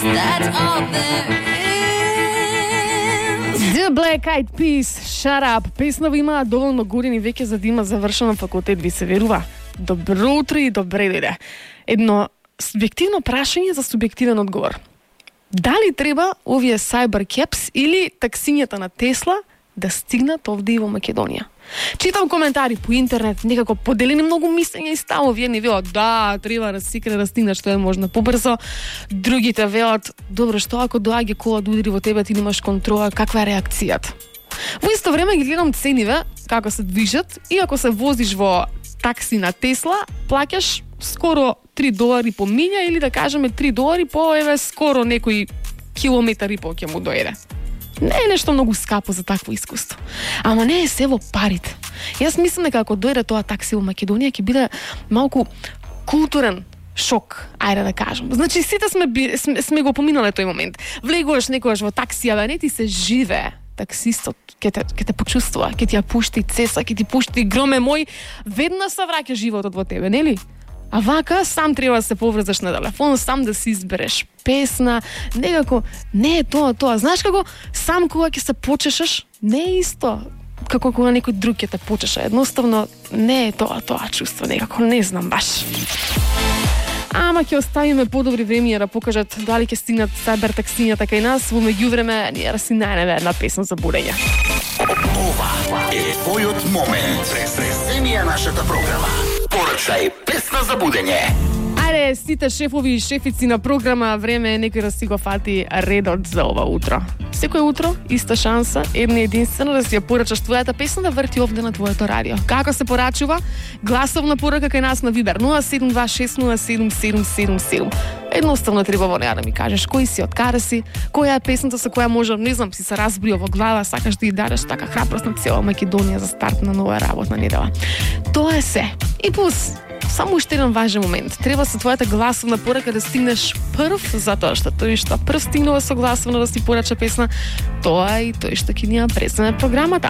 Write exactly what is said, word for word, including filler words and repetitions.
that's all there is. The Black Eyed Peas, Shut Up. Песна ви имаа доволно години веќе за да има завршен факултет, ви се верува. Добро утро и добре дојде. Едно субјективно прашање за субјективен одговор. Дали треба овие Cybercaps или таксињата на Тесла да стигнат овде и во Македонија? Читам коментари по интернет, некако поделени многу мислења и ставови. Едни велат, да, треба да секре да стигнат што е можно побрзо. Другите велат, добро, што ако доаѓа кола да удари во тебе, ти немаш контрола, каква е реакцијата? Во исто време ги гледам цениве, како се движат, и ако се возиш во такси на Тесла, плаќаш скоро три долари по милја или да кажеме три долари по еве скоро некој километар и по ќе му дојде. Не е нешто многу скапо за такво искуство. Ама не е се во парите. Јас мислам дека ако дојде тоа такси во Македонија ќе биде малку културен шок, ајде да кажам. Значи сите сме сме, сме го поминале тој момент. Влегуваш некогаш во таксија, да не ти се живее. Таксистот ќе те, ќе те почувствува, ќе ти ја пушти цеса, ќе ти пушти громе мој, веднаш се враќа животот во тебе, нели? А вака сам треба да се поврзаш на телефон, сам да си избереш песна, некако не е тоа тоа. Знаеш како сам кога ќе се почешеш, не е исто како кога некој друг ќе те почеша. Едноставно не е тоа тоа чувство, некако не знам баш. Ама ќе оставиме подобри времиња да покажат дали ќе стигнат Cyber таксињата кај нас. Во меѓувреме ние да си најдеме една песна за будење. Ова е твојот момент. Преземи ја нашата програма. Порачај песна за будење. Ајде, сите шефови и шефици на програма, време е некој да си го фати редот за ова утро. Секој утро, иста шанса, една единствена да си ја порачаш твојата песна да врти овде на твоето радио. Како се порачува? Гласовна порака кај нас на Вибер нула седум два шест нула седум седум седум седум. Едноставно треба во неа да ми кажеш кој си, од каде си, која е песната со која може, не знам, си се разбрио во глава, сакаш да ја дадеш така храброст на цела Македонија за старт на нова работна недела. Тоа е се. И плюс, само уште еден важен момент. Треба со твојата гласовна порака да стигнеш прв, затоа што тој што прв стигнува со гласовна да си порача песна, тоа и тој што ќе ни ја преземе програмата.